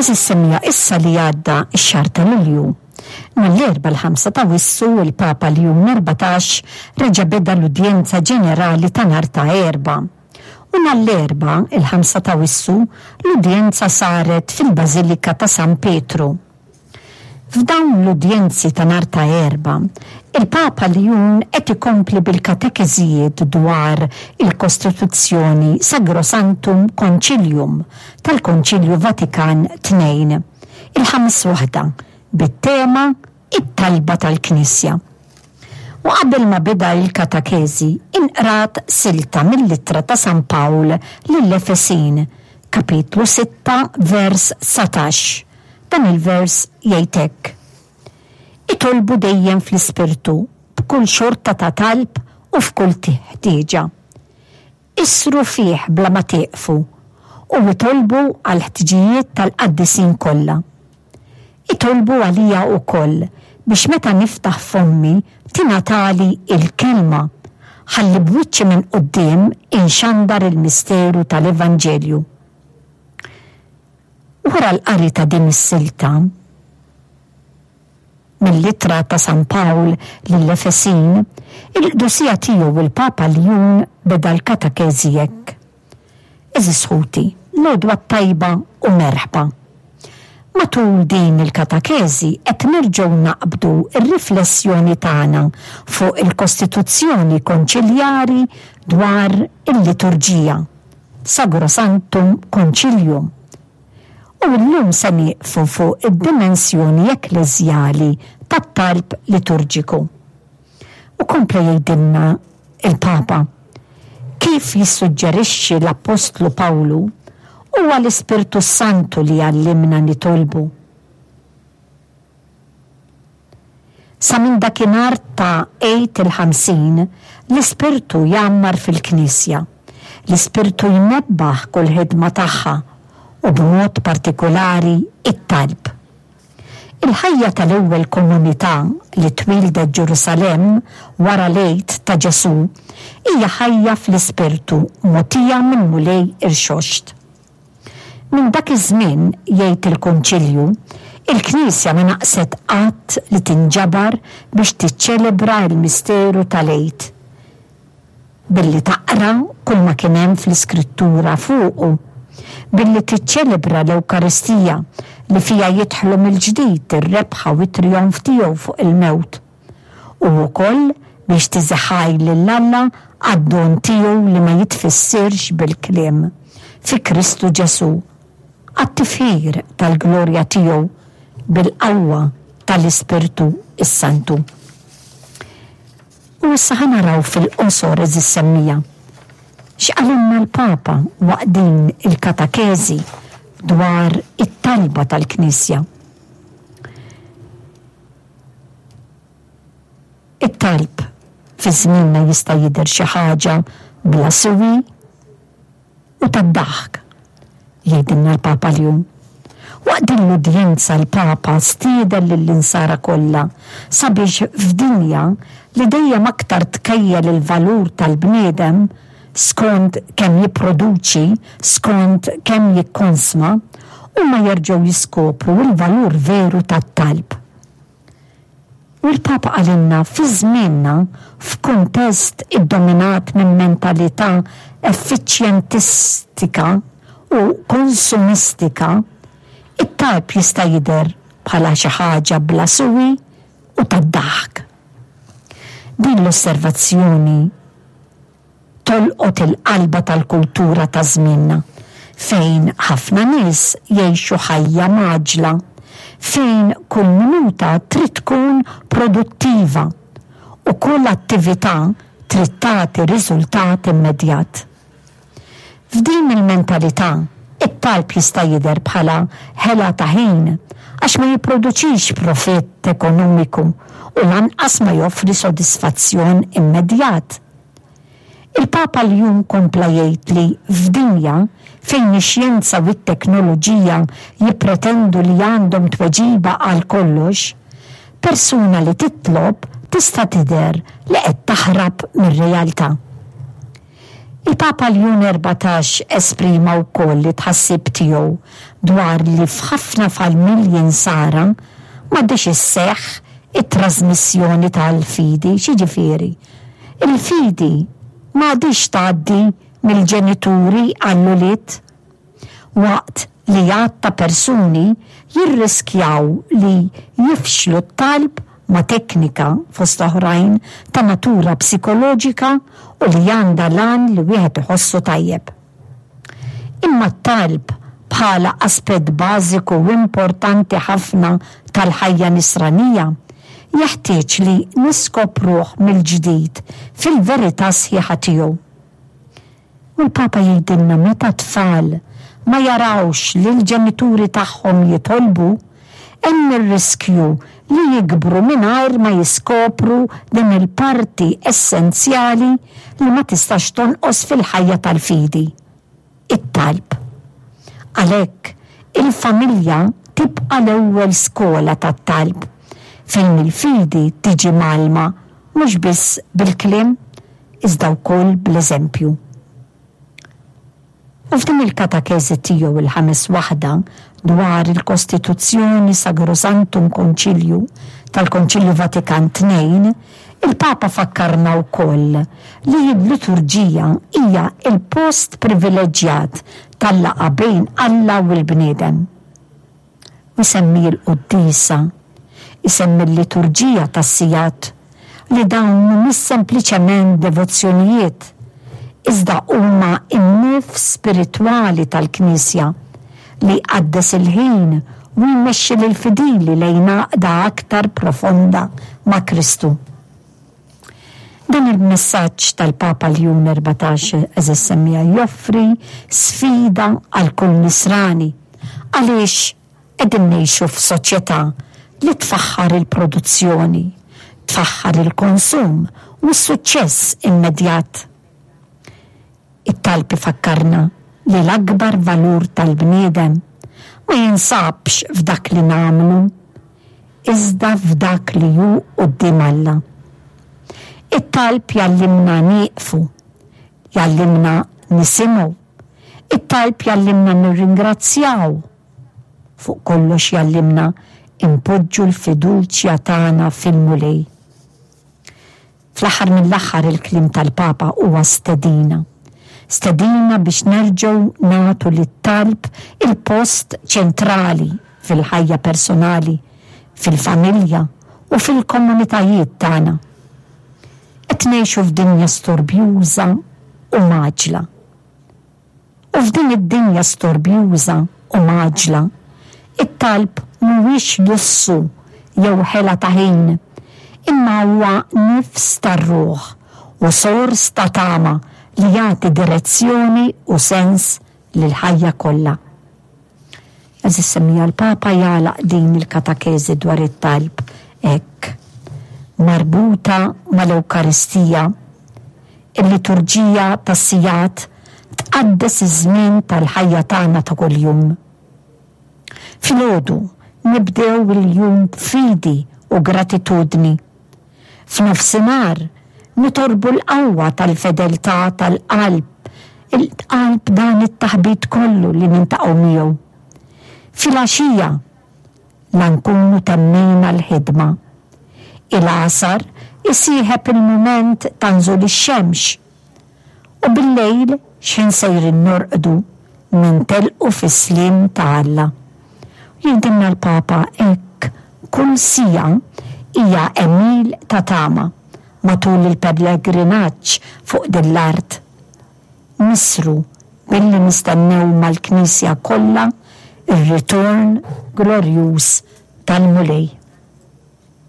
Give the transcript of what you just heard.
Għeżież semmiegħa issa li għadda x-xahar ta' Lulju, nhar l-Erbgħa l-ħamsa t'Awwissu l-Papa Ljun 14 reġa' beda l-udjenza ġenerali ta' nhar ta' Erbgħa. U nhar l-Erbgħa, il-ħamsa t'Awwissu, l-udjenza saret fil-Bażilika ta' San Pietru. F'dawn l-udjenzi ta' nhar ta' Erbgħa, il-Papa Ljun qed ikompli bil-katekeżijiet dwar il-Kostituzzjoni Sagrosanctum Concilium tal-Konċilju Vatikan Tnejn, il-ħames waħda, bit-tema It-Talba tal-Knisja. U qabel ma beda il-katakeżi, inqrat silta mill-Ittra ta' San Pawl lill-Efesin, kapitlu 6 vers 19. Dan il-vers jgħid hekk, Itolbu dejjem fl-Ispirtu b'kull xorta ta' talb u f'kull ħtieġa. Issru fih bla ma tieqfu u itolbu għall-ħtiġijiet tal-qaddisin kollha. Itolbu għalija wkoll biex meta niftaħ fommi tingħatali l-kelma ħalli b'wiċċi minn quddiem inxandar il-misteru tal-Evanġelju. Wara l-qari ta' din is-silta mill-Ittra ta' San Pawl lill-Efesin, il-Qdusija Tiegħu il-Papa Ljun beda l-katekeżi hekk, Għeżież ħuti, l-għodwa t-tajba u merħba. Matul din il-katekeżi qed nerġgħu naqbdu r-riflessjoni tagħna fuq il-Kostituzzjoni Konċiljari dwar il-Liturġija. Sagrosanctum Concilium. U llum se nieqfu fuq id-dimensjoni ekkleżjali tat-talb liturġiku. U kompla jgħidilna l-Papa, Kif jissuġġerixxi l-Appostlu Pawlu, huwa l-Ispirtu s-Santu li jgħallimna nitolbu. Sa minn dakinhar ta' Għid il-Ħamsin, l-Ispirtu jgħammar fil-Knisja. L-Ispirtu jnebbaħ kull ħidma tagħha u b'mod partikulari t-talb. Il-ħajja tal-ewwel komunità li twieldet Ġerusalemm wara l-Għid ta' Ġesù hija ħajja fl-Ispirtu mogħtija mill-Mulej Irxoxt. Minn dak iż-żmien, jgħid il-Konċilju, il-Knisja ma naqset qatt li tinġabar biex tiċċelebra l-misteru tal-Għid, billi taqra kull ma kien hemm fl-Iskrittura fuqu, billi tiċċelebra l-Ewkaristija li fiha jidħlu mill-ġdid ir-rebħa u t-trijonf tiegħu fuq il-mewt. u wkoll biex tiżi ħaj lil Alla għad-don tiegħu li ma jitfissirx bil-kliem, fi Kristu Ġesù, għat-tifħir tal-glorja tiegħu bil-qawwa tal-Ispirtu s-Santu. U issa ħa naraw fil-qosor għeżież semmiegħa, x'qalilna l-Papa waqt din il-katakeżi dwar it-talba tal-Knisja. It-talb fi żmienna jista' jidher xi ħaġa bla siwi u tad-daħk, jgħidilna l-Papa Ljun. Waqt din l-udjenza l-Papa stieden lill-Insara kollha sabiex f'dinja li dejjem aktar tkejjel il-valur tal-bniedem skont kemm jipproduċi, skont kemm jikkonsma, huma jerġgħu jiskopru l-valur veru tat-talb. U l-Papa qalilna fi żmienna, f'kuntest iddominat minn mentalità effiċjentistika u konsumistika, it-talb jista' jidher bħala xi ħaġa bla siwi u tad-daħk. Din l-osservazzjoni tolqot il-qalba tal-kultura ta' żmienna, fejn ħafna nies jgħixu ħajja mgħaġġla, fejn kull minuta trid tkun produttiva u kull attività trid tagħti riżultat immedjat. F'din il-mentalità, it-talb jista' jidher bħala ħela ta' ħin għax ma jipproduċix profitt ekonomiku u lanqas ma joffri sodisfazzjon immedjat. Il-Papa Ljun kompla jgħid li f'dinja fejn ix-xjenza u t-teknoloġija jippretendu li għandhom tweġiba għal kollox, persuna li titlob tista' tidher li qed taħrab mir-realtà. Il-Papa Ljun 14 esprima wkoll it-tħassib tiegħu dwar li f'ħafna familji Nsara m'għadhiex isseħħ it-trażmissjoni tal-fidi. X'jiġifieri? Il-fidi m'għadhiex tgħaddi mill-ġenituri għall-ulied. Waqt li għadd ta' persuni jirriskjaw li jifxlu t-talb ma' teknika, fost oħrajn, ta' natura psikoloġika u li għandha l-għan li wieħed iħossu tajjeb. Imma t-talb bħala aspett bażiku u importanti ħafna tal-ħajja Nisranija jeħtieġ li niskopruh mill-ġdid fil-verità sħiħa tiegħu. U l-Papa jgħidilna meta t-tfal ma jarawx lill-ġenituri tagħhom jitolbu, hemm ir-riskju li jikbru mingħajr ma jiskopru din il-parti essenzjali li ma tistax tonqos fil-ħajja tal-fidi, it-talb. Għalhekk, il-familja tibqa' l-ewwel skola tat-talb, fejn il-fidi tiġi mgħallma mhux biss bil-kliem iżda wkoll bl-eżempju. U f'din il-katekeżi tiegħu il-ħames waħda dwar il-Kostituzzjoni Sagrosanctum Conciliu tal-Konċilju Vatikan II, il-Papa fakkarna wkoll li l-liturġija hija l-post privileġġjat tal-laqgħa bejn Alla u l-bniedem. U jsemmi l-quddiesa, isemmi l-liturġija tas-sigħat, li dawn mhumiex sempliċement devozzjonijiet, iżda huma n-nifs spiritwali tal-Knisja li jqaddes il-ħin u jmexxi lill-fidili lejn għaqda aktar profonda ma' Kristu. Dan il-messaġġ tal-Papa Ljun 14 għeżież semmiegħa joffri sfida għal kull Nisrani għaliex qegħdin ngħixu f'soċjetà li tfaħħar il-produzzjoni, tfaħħar il-konsum u s-suċċess immedjat. It-talb ifakkarna li l-akbar valur tal-bniedem ma jinsabx f'dak li nagħmlu, iżda f'dak li hu quddiem Alla. It-talb jgħallimna nieqfu, jgħallimna nisimgħu, it-talb jgħallimna nirringrazzjaw, fuq kollox jgħallimna npoġġu l-fiduċja tagħna fil-Mulej. Fl-aħħar mill-aħħar il-kliem tal-Papa huwa stedina. Stedina biex nerġgħu nagħtu lit-talb il-post ċentrali fil-ħajja personali, fil-familja u fil-komunitajiet tagħna. Qed ngħixu f'dinja storbjuża u mgħaġġla. U f'din id-dinja storbjuża u mgħaġġla, it-talb mhuwiex lussu jew ħela ta' ħin, imma huwa nifs tar-ruħ u sors ta' tama li jagħti direzzjoni u sens lill-ħajja kollha. Għeżież semmiegħa l-Papa jagħlaq din il-katakeżi dwar it-talb hekk, Marbuta mal-Ewkaristija, il-liturġija tas-sigħat tqaddes iż-żmien tal-ħajja tagħna ta' kuljum. Filgħodu nibdew il-jum b'fidi u gratitudni. F'nofsinhar nitolbu l-qawwa tal-fedeltà tal-qalb, il-qalb dan it-taħbit kollu li niltaqgħu miegħu. Filgħaxija la nkunu temmejna l-ħidma. Il-għasar isieħeb il-mument ta' nżul ix-xemx. U bil-lejl x'ħin sejrin norqdu nintelqu fis-sliem ta' Alla. U jgħidilna l-Papa hekk kull siegħa hija għemil ta' tama matul il-pellegrinaġġ fuq din l-art. Nisru billi nistennew mal-Knisja kollha r-ritorn glorjuż tal-Mulej.